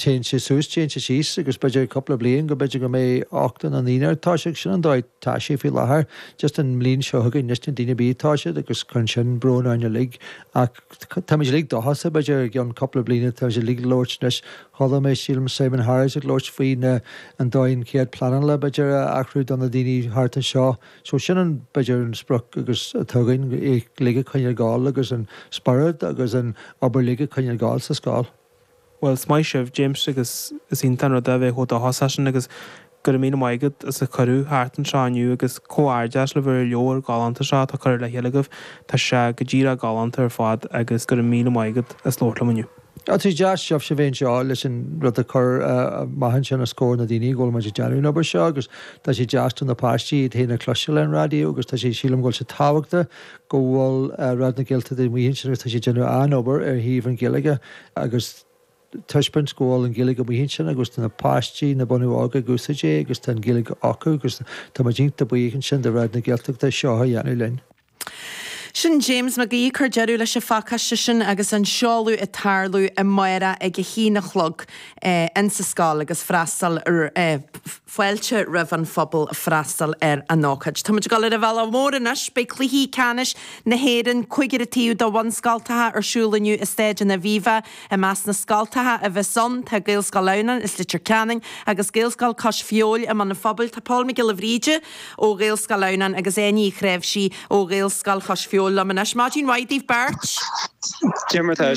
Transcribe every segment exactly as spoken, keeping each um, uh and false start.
Téann sé suas, téann sé síos agus b'fhéidir cúpla bliain go b'fhéidir go mbeidh ochtó na ndaoine ar toiseacht sin an dóigh tá sé faoi láthair just an mbliain seo chugainn níos na daoine bí tá siad agus chun sin brón orainn uilig ach táimid uilig dóchasach b'fhéidir i gceann cúpla bliana tá sé uilig labhairt anois chuala mé sílim Simon Harris ag labhairt faoi na an dóigh an chéad pleanála b'fhéidir a athrú do na daoine thart anseo so sin an b'fhéidir an sprioc agus atá againn é uilig a choinneáil ag gabháil agus an spiorad agus an obair uilig a choinneáil ag gabháil sa scoil. Well is maith sibh James agus is iontach an rud é bheith chomh dóchasach sin agus go raibh míle maith agat as an cuireadh thart anseo inniu agus comhghairdeas libh ar an leabhar galánta seo atá curtha le chéile agaibh Tá sé go díreach galánta ar fad agus go raibh míle maith agat as labhairt liom inniu. Tá sé deas sibhse bheith anseo leis an rud a chur amach ansin os comhair na daoine go bhfuil muid ag déanamh an obair seo agus tá sé deas do na páistí iad féin a chloisteáil ar an raidió agus tá sé sílim go bhfuil sé tábhachtach go bhfuil Raidió na Gaeltachta amuigh ansin agus tá sé déanamh an-obair ar thaobh an Ghaeilge agus taispeáint go bhfuil an Ghaeilge amuigh ansin agus tá na páistí na bunú óga ag úsáid é agus tá an Ghaeilge acu agus tá muid iontach buíoch ansin de Raidió na Gaeltachta seo a dhéanamh linn. Sin James Mac Aoidh cur deireadh leis an phacáiste sin agus an seoladh ag tarlú amárach ag a haon a chlog eh, insa scoil agus freastal eh, fáilte roimh an phobal freastal ar an ócáid. Tá muid ag dul ar an bhealach mór anois beidh cluichí ceannais na hÉireann cúigear taobh do bhunscoltacha ar siúl inniu i Staid an Aviva i measc na scoltacha a bheas ann tá Gaelscoil Adhamhnáin is Leitir Ceanainn agus Gaelscoil Cois Feabhail i mbun an Phobail tá Paul Mac Giolla Bhríde ó Ghaelscoil Adhamhnáin agus Áine Ní Chnáimhsí ó Ghaelscoil Chois Feabhail liom anois. Maidin mhaith daoibh beirt. Cad é mar tá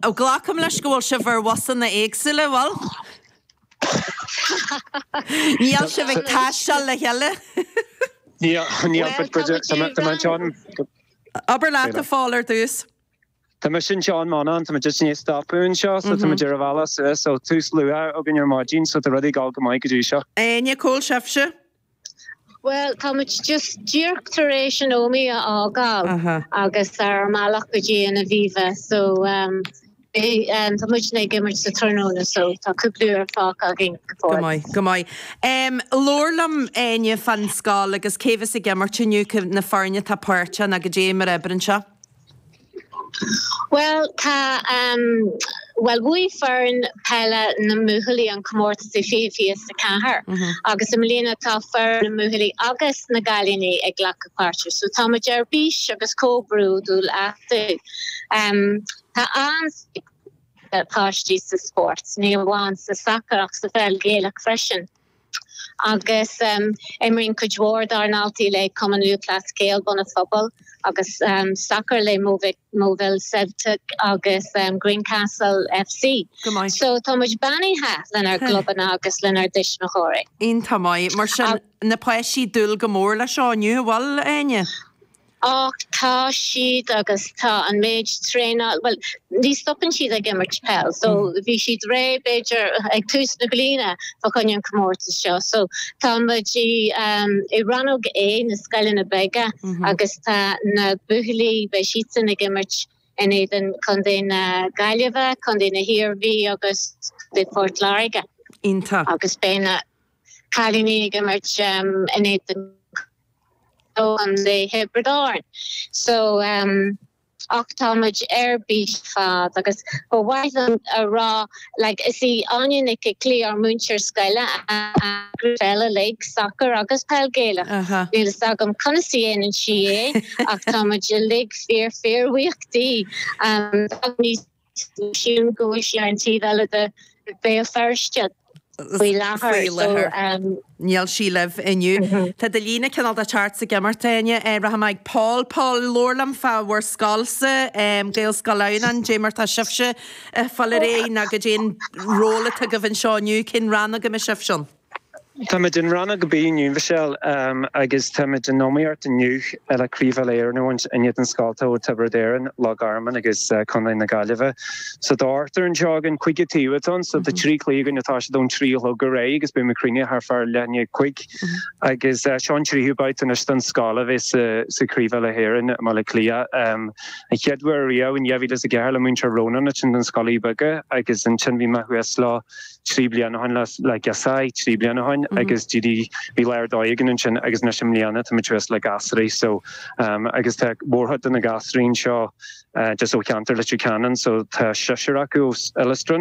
Ó glacaim leis go bhfuil sibh ar bhusanna éagsúla bhfuil? Níl sibh ag taisteal le chéile. Ní Abair leat a Phóil ar dtús. Tá mé sin Seán Manán tá just ní stopún seo so tá ar an bhealach so tús luath againn ar maidin so tá rudaí ag dul go maith go dtí seo. Áine cá bhfuil sibhse? Well tá muid just díreach tar éis an Ómaigh a fhágáil agus ar an mbealach go dtí an Aviva so um, um, tá muid ag imirt sa tráthnóna so tá cúpla uair fágtha againn go maith go maith. Um, Labhair liom Áine fán scoil agus cé bheas ag imirt inniu na foirne atá páirteach agus cad é mar oibríonn sé. Well tá um, well bhuaigh foireann peile na mbuachaillí an comórtas i fiche fiche a ceathair mm -hmm. agus i mbliana tá foireann na mbuachaillí agus na gcailíní ag glacadh páirte, so tá muid ar bís agus chomh bródúil astu. Um, tá an páistí sa spórt, ní amháin sa sacar ach sa pheil Ghaelach freisin. Agus um, imríonn cuid mhór dár ndaltaí le Cumann Lúthchleas Gael Bun an Phobail agus um, soccer le Moville Celtic agus um, Greencastle FC. So tá muid beannaithe lenár gclubanna agus lenár dtuismitheoirí. Iontach maith mar sin na páistí ag dúil go mór le seo inniu bhfuil Áine. Ach tá siad agus tá an méid traenáil well ní stopann siad ag imirt peil so mm. bhí siad réidh b'fhéidir ag tús na bliana fá choinne an comórtas seo so tá muid i um, i rannóg A na scoileanna beaga mm -hmm. agus tá na buachaillí beidh siadsan ag imirt in éadan Contae na Gaillimhe, Contae na hIarmhí agus de Port Láirge. Iontach. Agus beidh na cailíní ag imirt um, in éadan Contae Thiobraid Árann. So um, ach támuid ar bís fad agus ba mhaith liom a rá like, is í Áine Nic Clí ár múinteoir scoile peile like soccer agus peil Ghaelach. Níl a fhios agam conas a dhéanann sí é ach támuid uilig fíor fíorbhuíoch di um, sin go sí an taobh eile de Béal Feirste faoi láthair um, Níl sí libh inniu. Mhm. Tá de lína cineál de teart sa gemartaine rachaidh mé Paul Paul labhair liom fá bhur scoilsa Gaelscoil Adhamhnáin cad é mar tá sibhse fáil réidh nó cad é an ról atá agaibh anseo inniu cén rannóg a mbeidh sibhse ann. Tá muid in rannóg B inniu Michelle um, agus tá muid in iomaíocht inniu le Craobh Uile-Éireann in éadan scolta ó Tiobraid Árann, Loch Garman agus uh, Contae na Gaillimhe. So tá ochtar anseo againn cúigear taobh so tá trí chluiche againn atá sé don trí go réidh agus beidh muid cruinnithe thart fá leath i ndiaidh a cúig agus uh, seo an tríú babhta anois don scoil a bheith sa, sa Chraobh Uile-Éireann i mBaile Átha Cliath. Um, an chéad uair riamh in dhá mhíle is a ceathair le múinteoir Ronan sin den scoil beaga agus ansin bhí mé thuas le trí bliana le le gasúir trí bliana ó shin agus DD bhí léir dóigh sin agus na sem bliana tá tuas le gasúir so um, agus tá mórchuid de na gasúir seo uh, just ó cheantar Leitir Ceanainn so tá seisear acu Illistrin